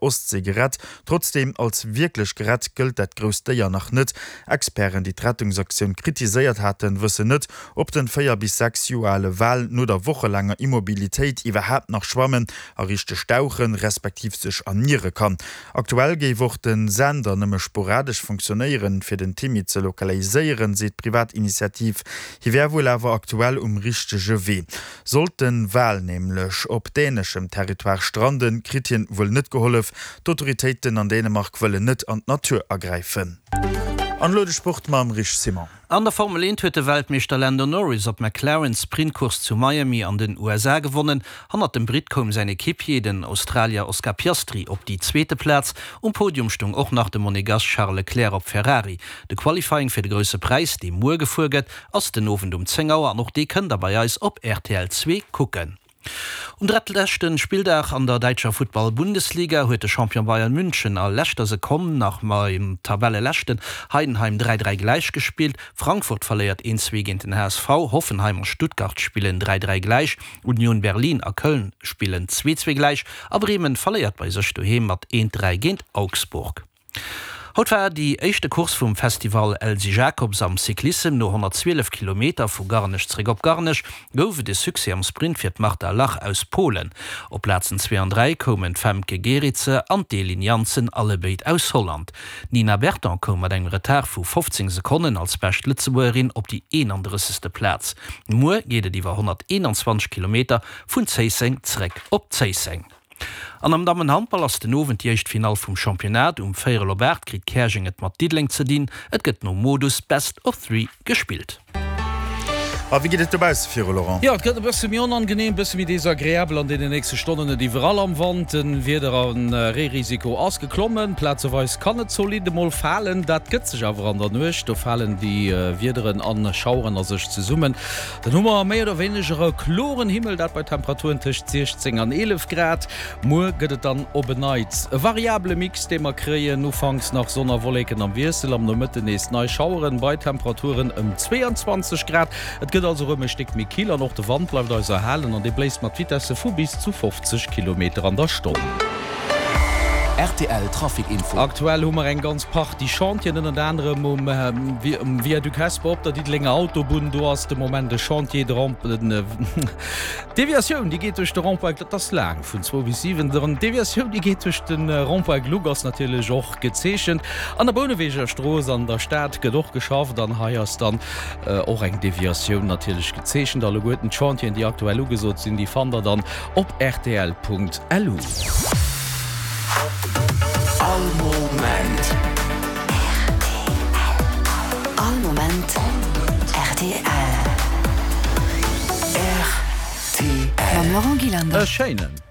Ostsee gerett. Trotzdeem, als wierklech gerett gëllt dat grousst Déier nach net. Experten, déi d'Rettungsaktioun kritiséiert haten, wëssen net, ob den 4 bis 6 Joer ale Wal no der wochelaanger Immobilitéit iwwerhaapt nach schwammen a richteg dauchen, respektiv sech erniere kann. Aktuell géif och de Sender nëmme sporadesch funktionéieren, fir den Timmy ze lokaliséieren, seet d'Privatinitiativ. Hie wär wuel awer aktuell um richtege Wee. Sollt den Wal nämlech op däneschem Territoire stranden, kritt hien wuel net gehollef. D'Autoritéiten an Dänemark wëllen net an d'Natur agräifen. An elo de Sport mam Rich Simon. An der Formel 1 huet de Weltmeeschter Lando Norris op McLaren d'Sprintcourse zu Miami an den USA gewonnen. Hannert dem Britt koum säin Equipier, den Australier Oscar Piastri, op déi zweete Plaz. Um Podium stoung och nach de Monegass Charles Leclerc op Ferrari. De Qualifying fir de Grousse Präis, dee muer gefuer gëtt, Ass den Owend um 10 Auer an och dee kënnt der bei eis op rtl 2 kucken. Um drettleschten Spilldag an der däitscher Futtball-Bundesliga huet de Champion Bayern München a leschter Sekonn nach mam Tabelleleschten Heidenheim 3, 3 gläich gespillt. Frankfurt verléiert 1, 2 géint den HSV, Hoffenheim a Stuttgart spillen 3, 3 gläich, Union Berlin a Köln spillen 2, 2 gläich a Bremen verléiert bei sech doheem mat 1, 3 géint Augsburg. Haut war déi éischte Course vum Festival Elsy Jacobs am Cyclissem. No 112 Kilometer vu Garnech zeréck op Garnech gouf et e Succès am Sprint fir d'Marta Lach aus Polen. Op Plazen 2 an 3 koumen d'Femke Gerritse an d'Elin Janssen, allebéid aus Holland. D'Nina Berton koum mat engem Retard vu 15 Sekonnen als bescht Lëtzebuergerin op déi 31. Plaz. Muer geet et iwwer 121 Kilometer vun Zéisseng zeréck op Zéisseng. An am Dammenhandball ass den Owend déi éischt Finall vum Championnat. Um véierel op 8 kritt Käerjeng et mat Diddeleng ze dinn. Et gëtt nom Modus Best of Three gespillt. A wéi geet et dobausse viru, Laurent? Jo, et gëtt e bësse méi onangenehm, e bësse méi desagreabel an deenen nächste Stonnen. Net iwwerall am Wand, de Wieder a Reerisiko ass geklommen. Plazeweis kann et zolidd emol falen, dat gëtt sech awer an der Nuecht. Do falen déi Wiederen a Schaueren a sech zesummen. Dann hu mer méi oder wéineger e kloren Himmel, dat bei Temperaturen tëscht 16 an 11 Grad. Muer gëtt et dann op en Neits e variabele Mix, dee mer kréien, ufanks nach Sonn a Wolleken am Wiessel, am Nomëtten nees nei Schaueren bei Temperaturen ëm 22 Grad. Et gëtt also erëm e Stéck méi kill an och de Wand bleift eis erhalen an dee bléist mat Vitesse vu bis zu 50 Kilometer an der Stonn. Rtl Trafic Info. Aktuell hu mer eng ganz Partie Chantieren, ënnert anerem um Viaduc Hesper op der Diddelenger Autobunn. Do ass de Moment e Chantier. De Rond, d'Deviatioun, déi geet duerch de Rond-point, dat ass laang, vun zwou bis 7. D'Deviatioun, déi geet duerch de Rond-point Gluck, ass natierlech och gezeechent. An der Bouneweger Strooss an der Stad gëtt och geschafft an hei ass dann och eng Deviatioun natierlech gezeechent. Alleguerten d'Chantieren, déi aktuell ugesot sinn, déi fannt der dann op rtl.lu. All Moment. Rtl. All Moment rtl. Rtl. Mam Laurent Gillander. E schéinen.